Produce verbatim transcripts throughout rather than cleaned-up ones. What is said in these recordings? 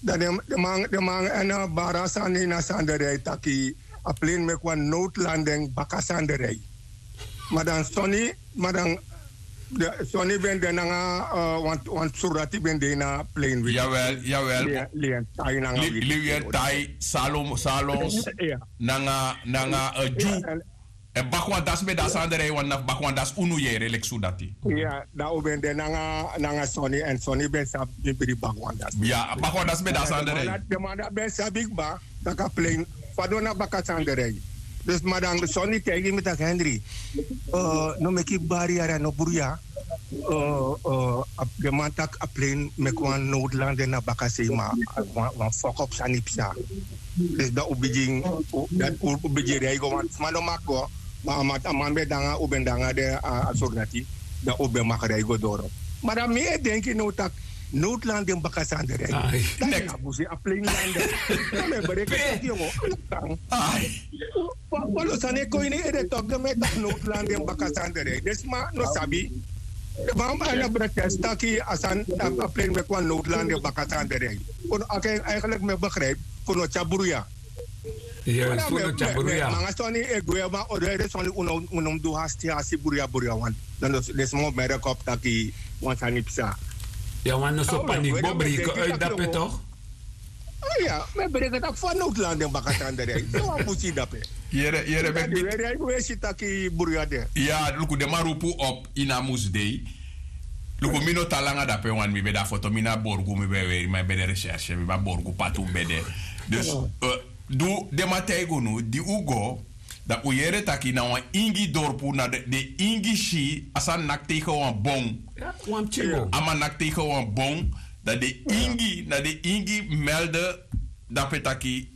Dan den man den man en bara sani na sanderei taki a plane meki wan noodlanding baka sanderei. Ma dan soni ma dan soni ben de nanga wan surati ben de na plane wiki. Yawel yawel. Lien tai nanga wiki. Lien tai salom salons. Nanga nanga ju. En bakwan dasi ben de a sani de rei wan na fu bakwan dasi unu yere leki sudati. Ya, dan un ben de nanga nanga soni èn soni ben sabi bibri bakwan dasi. Ya, bakwan dasi ben de a sani de rei. Den man dati ben sabi kba tak' a plein fadon na baka sani de rei. Dus ma dan soni taigi mi tak' henri, no meki bari yari a no bruya. Den man taki a plein meki wan nowdland den na bakasei ma wan fokop sani psa. Dus dan un bigin, dan un bigin rei go want sma no maki go. Ma a man ben de nanga un ben de nanga den a sordati. Dan un ben maki rei go doro. Ma dan mi e denki now tak' nowdland den bakasei ande rei. Dati na busi a plein lande. Dan mi e breki taki yongo, ala tan. Walo sani e kon ini ede tok den mi e taki nowdland den baka sani de rei den sma no sabi. Bamba na brotest taki a sani a pleni meki wan nowdland den baka sani de rei. Kon aki en eigenlik mi e begrijp. Kon no tyabruya. Manga soni e gwe ma o de ede soni un no mus du hasti hasti bruya bruya wan. Dan den sma o merki op taki wan sani psa. Ya wan no so paniki bo breke uit dape tok. Aya mi e breke taki fa nowdland den baka sani de rei so wan busi dape. Yere yere ben dati weri a yu wesi taki bruya de. Ya luku den man rupu op ini a musdei. Luku mi no tan langa dape wani mi ben de a foto mi na borgu mi ben e weri ma yu ben de recherche mi ben a borgu patu mi ben de. Dus du den man taigi unu di un go, dan un yere taki na wan ingi dorpu na den ingi si a sani naki tegen wan bon. A man naki tegen wan bon. Dan den ingi na den ingi melde dape taki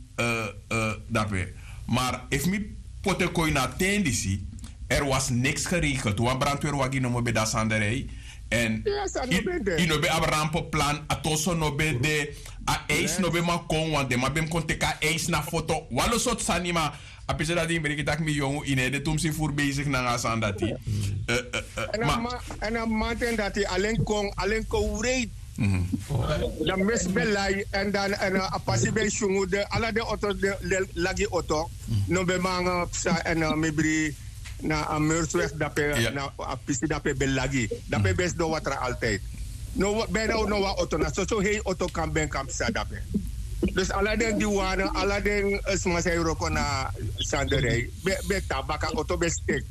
dape. Maar efu mi poti en kon ini a ten disi, er was niks geregeld wan brandweerwagi nomo ben de a sani de rei. Èn yu no ben abi rampeplan a toso no ben de. A eis no ben man kon want den man ben mus kon teki a eis na foto walo sortu sani ma a pisi dati mi breki tak' mi yongu ini ede tumsi furu besigi nanga a sani dati. Èn a mamanten dati alen kon alen kon wreiti. Dan mesi ben lai èn dan a pasi ben syungu den ala den oto den lagi oto. No ben man nanga psa èn mi bri na a meursweg dape na a pisi dape ben lagi. Dape ben sidon watra altijdi. No ben na no wan oto na soso hei oto kan ben kan psa dape. Dus ala den di wan ala den sma san e wroko na sanderei ben tan baka oto ben steki.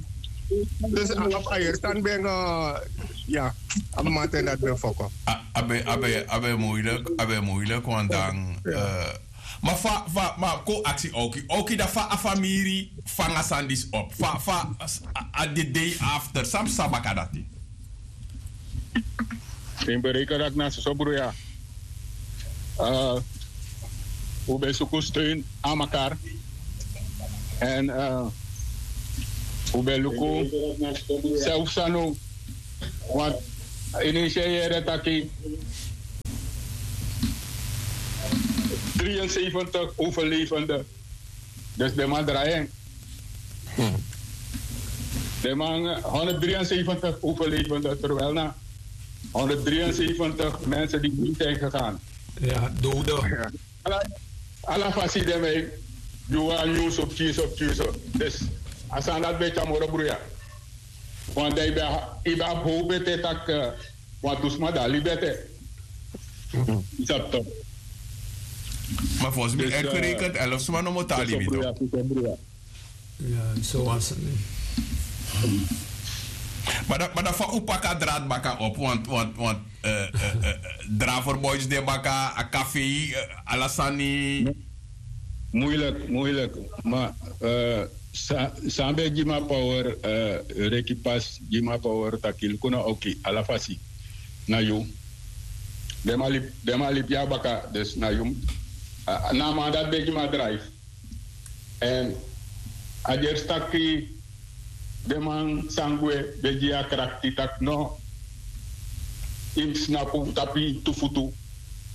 Dus a yeri sani ben ya a mamanten dati ben foko. A ben a ben a ben muilik a ben muilik wan dan. Ma fa fa ma kon aksi oki oki dan fa a famiri fanga sani disi op fa fa a de dei after san psa baka dati. Ten bereika dati na soso bruya. Un ben suku steun a makar. Èn un ben luku selfsano. Want ini isi e yere taki dri en seventig overlevende. Dus den man drai en. Den man honderdrienzeventig overlevende terwijl na honderdrienzeventig mensen die niet zijn gegaan. Dode. Ala fasi den man e gi wan nyunsu pikinso pikinso. Dus a sani dati ben e tyari moro bruya. Wan dan yu ben abi how bete tak' wantu sma de a libi ete. Yu sabi tok'? Ma fosi mi ekirekent elf sma nomo tan a libi tok'. Ya so wan sani. Ma dan fa un paka drat baka op want want want draver boys de baka a kafei. Ala sani. Muilik muilik. Ma san ben gi mi a power, reki pasi gi mi a power taki luku na oki ala fasi. Na yu. Den man libi ya baka dus na yu. Na a man dati ben gi mi a drive. Èn a gersi taki den man san gwe ben gi yu a krakti taki no. Yu mus snapu tapu yu tu futu.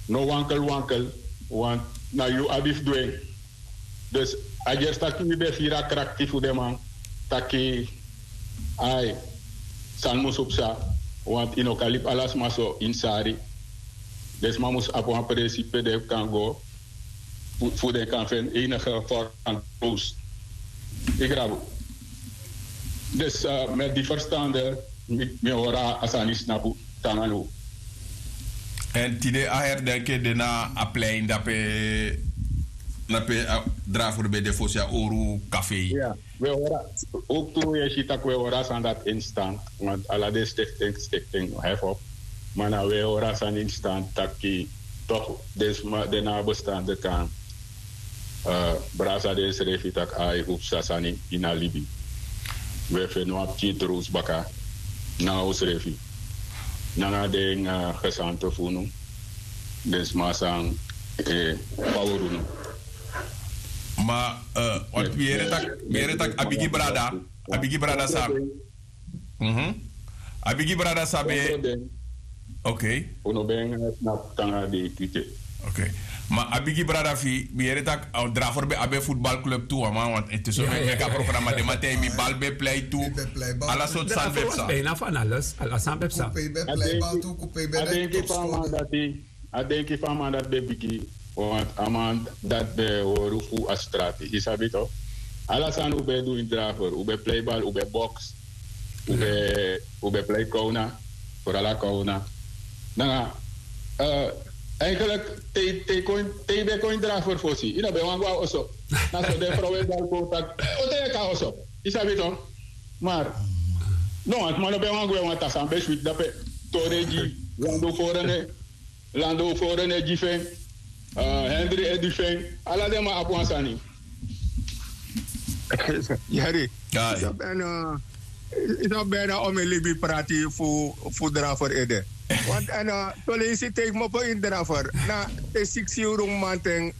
No wankel wankel. Want na yu abi fu du en. Dus a gersi taki mi ben firi a krakti fu den man taki ai, san musu psa. Want yu no kan libi ala sma so ini sari. Den sma mus abi wan presi pe den kan go fu den kan feni enige vorm van troost. Yu grabu. Dus met di ferstande mi hori a sani snapu tan na now. Èn tide a herdenki e de na a plein dape. na pe a draver ben de fosi a oru kafei. We hora, ook tu we si tak we hora san dat instant. Want ala den stekten stekten hef op. Maar na we hora san instant taki toch den sma den na bestande kan. Brasa den srefi tak ai upsa sani ina libi. We fenu apti drus baka na usrefi. Nanga den gesante funu. Den sma san pawrunu. Ma wat mi yere tak mi yere tak a bigi brada. A bigi brada san. A bigi brada san ben. Ok. Unu ben snap tanga de tite. Ok. Ma a bigi brada fi mi yere tak a draver ben abi futbalclub tu a man want ete so ben meki a programa de man tei mi bal ben plei tu. Ala sortu sani ben psa. Bijna van alles. Ala sani ben psa. A denki fu a man dati. A denki fu a man dati ben bigi. Want a man dati ben hori fu a strati yu sabi to. Ala sani un ben du ini draver un ben plei bal un ben boks. Un ben plei kowna. Forala kowna. Nanga eigenlijk te yu ben kon ini draver fosi yu no ben wani go na oso. Na so den frow e bal kon taki o te yu e kon na oso. Yu sabi to. Mar no wan sma no ben wani gwe wan tasan ben switi dape. Tori e gi landu foro ne landu foro ne gi fen. Hendri e gi fen. Ala den man abi wan sani. Yari. Yu sabi ben na o mi libi prati fu drafer ede. Want en tolesi teki mi opo ini drafer na te siksi yuru mi manten.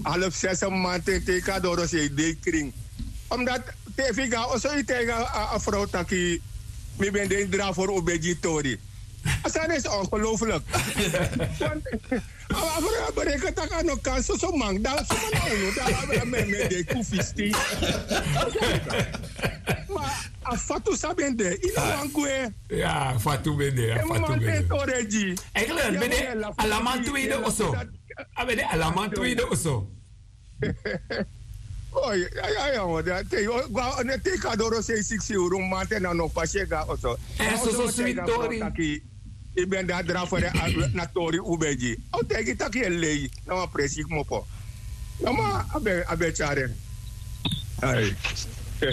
Half sesi mi manten teki a doro sei dei krin. Omdat te efu yu go na oso yu taigi a frow taki mi ben de ini draver un ben gi yu tori. A sani isi ongelooflik. A frow ya bereken taki a no kan soso man dan suma na unu dan a ben a men mi e de kufisti. Ma a fatu san ben de yu no wani gwe. Ya fatu ben de a fatu ben de. Tori e gi. Eigenlijk ben de alaman tu yu de oso. A ben de alaman tu yu de oso. Oi a ya wan de a tei go a ne tei kadoro sei siksi uru mi manten na no pasi e go na oso. Èn soso switi tori taki yu ben de a dra fere na tori un ben gi a o taigi taki yu e lei. Na wan presi kmopo. Noma a ben tyari en. Ai. Ya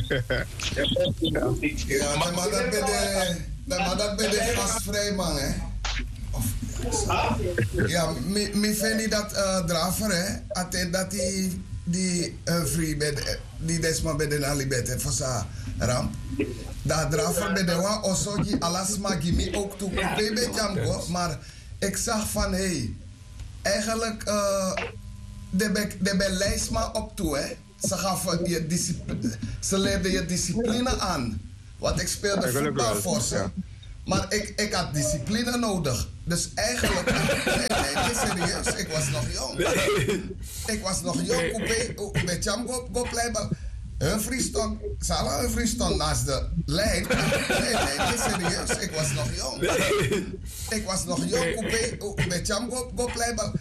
ma dati ben de gasfrij man. Ya mi feni dati drafer a ten dati di fri ben di den sma ben de na liberte fosi a ramp. Dan a drafer ben de wan oso gi ala sma gi mi owk tu kupe ben tyari mi go. Mar eksaki fan hei, eigenlijk den ben lei sma op tu. Ze gaven je discipline, ze leerden je discipline aan. Want ik speelde voetbal voor ze. Maar ik had discipline nodig. Dus eigenlijk nee nee nee serieus ik was nog jong. Ik was nog jong. Kupe un ben tyari mi go pleibal. Hun vri stond sala hun vri stond naast de lijn. Nee nee nee serieus ik was nog jong. Ik was nog jong. Kupe un ben tyari mi go pleibal.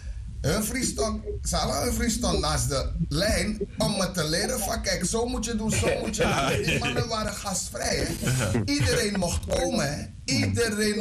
Hun vri stond sala hun vri stond naast de lijn om me te leren van kijk zo moet je doen zo moet je doen. Die mannen waren gastvrij. Iedereen mocht komen. Iedereen